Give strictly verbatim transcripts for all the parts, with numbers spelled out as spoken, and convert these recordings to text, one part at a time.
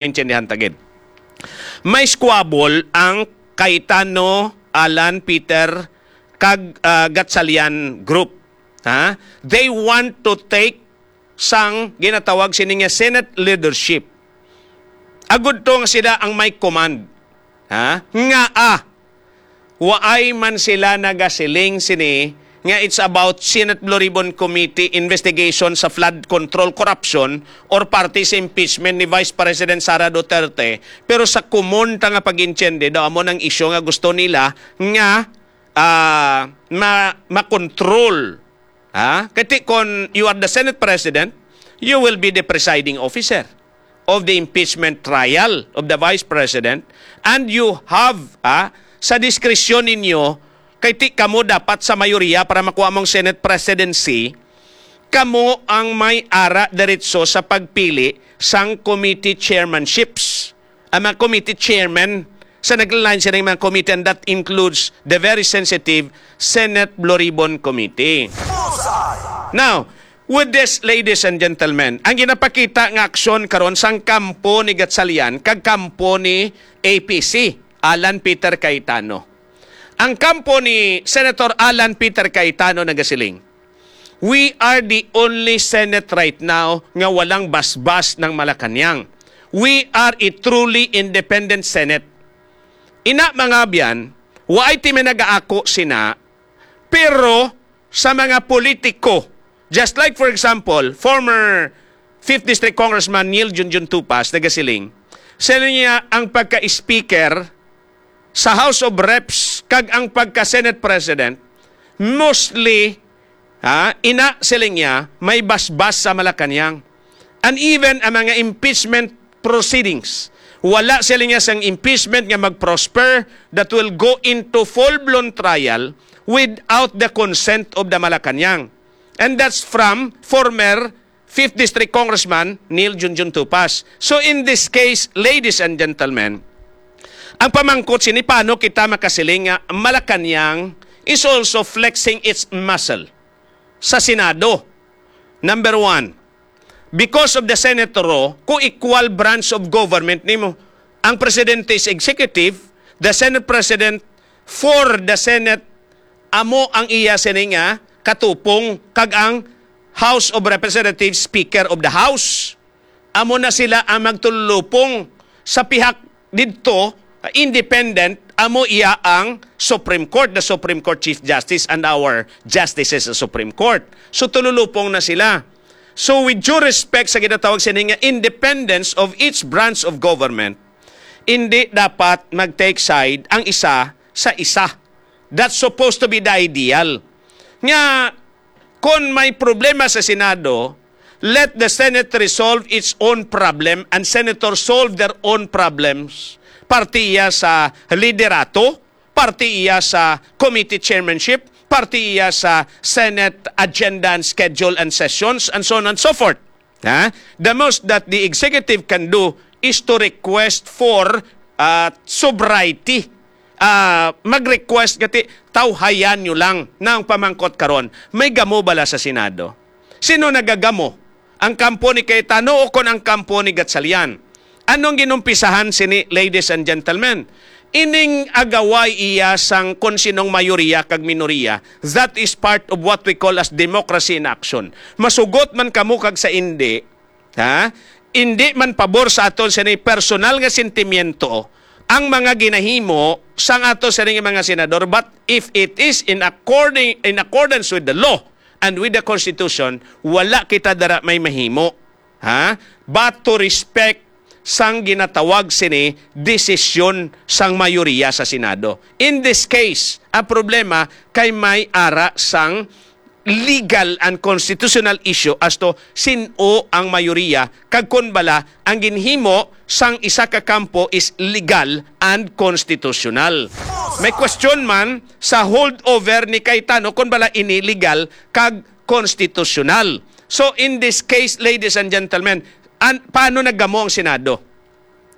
maintindihan ta gid. May squabble ang Cayetano, Alan, Peter, kag, ah, Gatchalian group. Ha? They want to take sang ginatawag sini nga Senate leadership. Agud to nga sila ang may command. Ha? Nga, ah, waay man sila nagasiling sini nga it's about Senate Blue Ribbon Committee investigation sa flood control corruption or parte sa impeachment ni Vice President Sara Duterte, pero sa common ta nga pag-intindi daw amo nang isyu nga gusto nila nga, ah, ma-, ma-control. Ha? Kati kon you are the Senate President, you will be the presiding officer of the impeachment trial of the Vice President, and you have, ah, sa diskresyon ninyo, kay ti kamo dapat sa mayoriya para makuha mong Senate presidency, kamo ang may ara diretso sa pagpili sang committee chairmanships, ang mga committee chairman sa naglain sila mga committee, and that includes the very sensitive Senate Blue Ribbon Committee. Now, with this, ladies and gentlemen, ang ginapakita nga aksyon karon sang kampo ni Gatchalian kag kampo ni A P C, Alan Peter Cayetano. Ang kampo ni Senator Alan Peter Cayetano nagasiling, "We are the only Senate right now nga walang basbas ng Malacañang. We are a truly independent Senate." Ina, mga abyan, waay ti may nagaako sina, pero sa mga politiko, just like, for example, former fifth District Congressman Neil Junjun Tupas nagasiling, sa niya ang pagka-speaker sa House of Reps kag ang pagka-Senate President, mostly, ha, ina siling niya, may basbas sa Malacañang. And even ang mga impeachment proceedings, wala siling niya sang impeachment nga mag-prosper that will go into full-blown trial without the consent of the Malacañang. And that's from former fifth District Congressman Neil Junjun Tupas. So in this case, ladies and gentlemen, ang pamangkot sini, paano kita makasiling nga Malacañang is also flexing its muscle sa Senado? Number one, because of the Senate Rule, co-equal branch of government nimo. Ang presidente is executive, the Senate President for the Senate, amo ang iya sini nga katupong, kag ang House of Representatives, Speaker of the House. Amo na sila ang magtululupong sa pihak didto, independent, amo iya ang Supreme Court, the Supreme Court Chief Justice and our justices sa Supreme Court. So, tululupong na sila. So, with due respect sa ginatawag sini nga independence of each branch of government, hindi dapat mag-take side ang isa sa isa. That's supposed to be the ideal. Nga, kon may problema sa Senado, let the Senate resolve its own problem and senators solve their own problems. Parte iya sa liderato, parte iya sa committee chairmanship, parte iya sa Senate agenda and schedule and sessions, and so on and so forth. Ha? The most that the executive can do is to request for, ah, sobriety. Ah, mag-request nga ti, "Tawhayan nyo lang na ang pamangkot karon. May gamo bala sa Senado?" Sino nagagamo? Ang kampo ni Cayetano o kon ang kampo ni Gatchalian? Anong ginumpisahan sini, ladies and gentlemen? Ining agaway iya sang kon sinong mayoriya kag minoriya, that is part of what we call as democracy in action. Masugot man kamo kag sa indi, ha? Indi man pabor sa aton sini personal nga sentimiento ang mga ginahimo sang ato sini nga mga senador, but if it is in according, in accordance with the law and with the Constitution, wala kita dara may mahimo, ha? But to respect sang ginatawag sini desisyon sang mayoriya sa Senado. In this case, ang problema kay may ara sang legal and constitutional issue as to sin-o ang mayoriya kag kon bala ang ginhimo sang isa ka kampo is legal and constitutional. May question man sa holdover ni Cayetano kon bala ini legal kag constitutional. So, in this case, ladies and gentlemen, an-, paano nagamo ang Senado?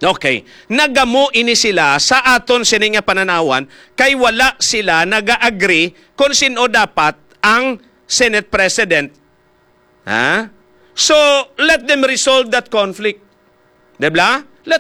Okay. Nagamo ini sila sa aton sini nga pananawan kay wala sila naga-agree kung sino dapat ang Senate President. Ha? So, let them resolve that conflict. Di ba? Let